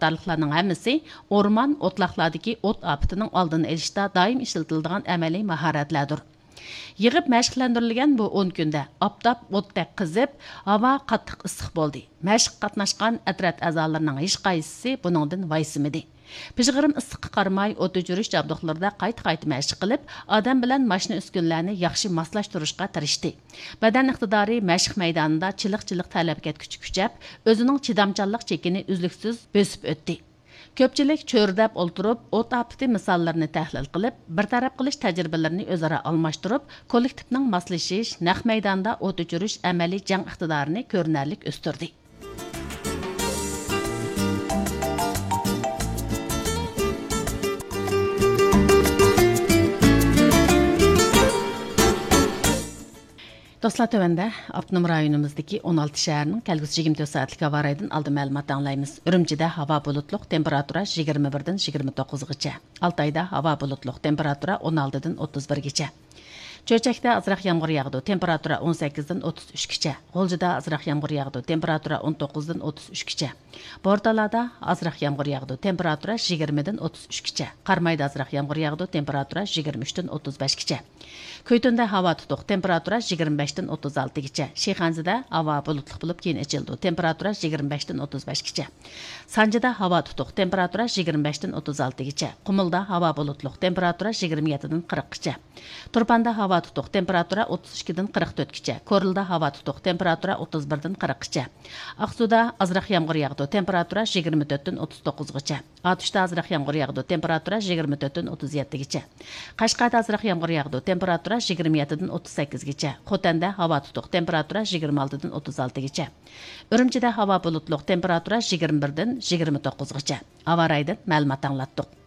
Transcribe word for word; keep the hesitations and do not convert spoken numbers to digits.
ئىقتىدارلىقلارنىڭ ھەممىسى ئورمان، ئوتلاقلاردىكى ئوت ئاپىتىنىڭ ئالدىنى ئېلىشتا دائىم ئىشلىتىلىدىغان ئەمەلىي ماھارەتلەردۇر. يىغىپ مەشىقلەندۈرۈلگەن بۇ ئون كۈندە ئاپتاپ ئوتتەك قىزىپ، ھاۋا قاتتىق ئىسسىق بولدى. مەشىققە قاتناشقان ئەترەت ئەزالىرىنىڭ ھېچقايسىسى بۇنىڭدىن ۋايسىمىدى. پىژغىرىم ئىسسىققا قارىماي، ئوت ئۆچۈرۈش جابدۇقلىرىدا قايتا-قايتا مەشىق قىلىپ، ئادەم بىلەن ماشىنا ئۈسكۈنىلەرنى ياخشى ماسلاشتۇرۇشقا تىرىشتى. بەدەن ئىقتىدارى مەشىق مەيدانىدا چىلىق-چىلىق تەرلەپ كەتكۈچە كۈچەپ، ئۆزىنىڭ چىدامچانلىق چېكىنى ئۈزلۈكسىز بۆسۈپ ئۆتتى. كۆپچىلىك چۆرىدەپ ئولتۇرۇپ، ئوت ئاپىتى مىساللىرىنى تەھلىل قىلىپ، بىر تەرەپ قىلىش تەجرىبىلىرىنى ئۆزئارا ئالماشتۇرۇپ، كوللېكتىپنىڭ ماسلىشىش، نەق مەيداندا ئوت ئۆچۈرۈش ئەمەلىي جەڭ ئىقتىدارىنى كۆرۈنەرلىك ئۆستۈردى. دوستلار، تۆۋەندە ئاپتونوم رايونىمىزدىكى ئون ئالتە شەھەرنىڭ كەلگۈسى يىگىرمە تۆت سائەتلىك ھاۋا رايىدىن ئالدىن مەلۇمات ئاڭلايمىز. ئۈرۈمچىدە ھاۋا بۇلۇتلۇق، تېمپېراتۇرا يىگىرمە بىردىن يىگىرمە توققۇزغىچە. ئالتايدا ھاۋا بۇلۇتلۇق، تېمپېراتۇرا ئون ئالتىدىن ئوتتۇز بىرگىچە. چۆچەكتە ئازراق يامغۇر ياغىدۇ، تېمپېراتۇرا ئون سەككىزدىن ئوتتۇز ئۈچكىچە. غۇلجىدا ئازراق يامغۇر ياغىدۇ، تېمپېراتۇرا ئون توققۇزدىن ئوتتۇز ئۈچكىچە. بورتالادا ئازراق يامغۇر ياغىدۇ، تېمپېراتۇرا يىگىرمىدىن ئوتتۇز ئۈچكىچە. قارامايدا ئازراق يامغۇر ياغىدۇ، تېمپېراتۇرا يىگىرمە ئۈچتىن ئوتتۇز بەشكىچە. كۈيتۈندە ھاۋا تۇتۇق، تېمپېراتۇرا يىگىرمە بەشتىن ئوتتۇز ئالتىگىچە. شىخەنزىدە ھاۋا بۇلۇتلۇق بولۇپ، كېيىن ئېچىلىدۇ، تېمپېراتۇرا يىگىرمە بەشتىن ئوتتۇز بەشكىچە. سانجىدا ھاۋا تۇتۇق، تېمپېراتۇرا يىگىرمە بەشتىن ئوتتۇز ئالتىگىچە. قۇمۇلدا ھاۋا بۇلۇتلۇق، تېمپېراتۇرا يىگىرمە يەتتىدىن قىرىققىچە. تۇرپاندا ھاۋا تۇتۇق، تېمپېراتۇرا ئوتتۇز ئىككىدىن قىرىق تۆتكىچە. كورلىدا ھاۋا تۇتۇق، تېمپېراتۇرا ئوتتۇز بىردىن قىرىققىچە. ئاقسۇدا ئازراق يامغۇر ياغىدۇ، تېمپېراتۇرا يىگىرمە تۆتتىن ئوتتۇز توققۇزغىچە. ئاتۇشتا ئازراق يامغۇر ياغىدۇ، تېمپېراتۇرا يىگىرمە تۆتتىن ئوتتۇز يەتتىگىچە. قەشقەردە ئازراق يامغۇر ياغىدۇ، تېمپېراتۇرا يىگىرمە يەتتىدىن ئوتتۇز سەككىزگىچە. خوتەندە ھاۋا تۇتۇق، تېمپېراتۇرا يىگىرمە ئالتىدىن ئوتتۇز ئالتىگىچە. ئۈرۈمچىدە ھاۋا بۇلۇتلۇق، تېمپېراتۇرا يىگىرمە بىردىن يىگىرمە توققۇزغىچە. ھاۋا رايىدىن مەلۇمات ئاڭلاتتۇق.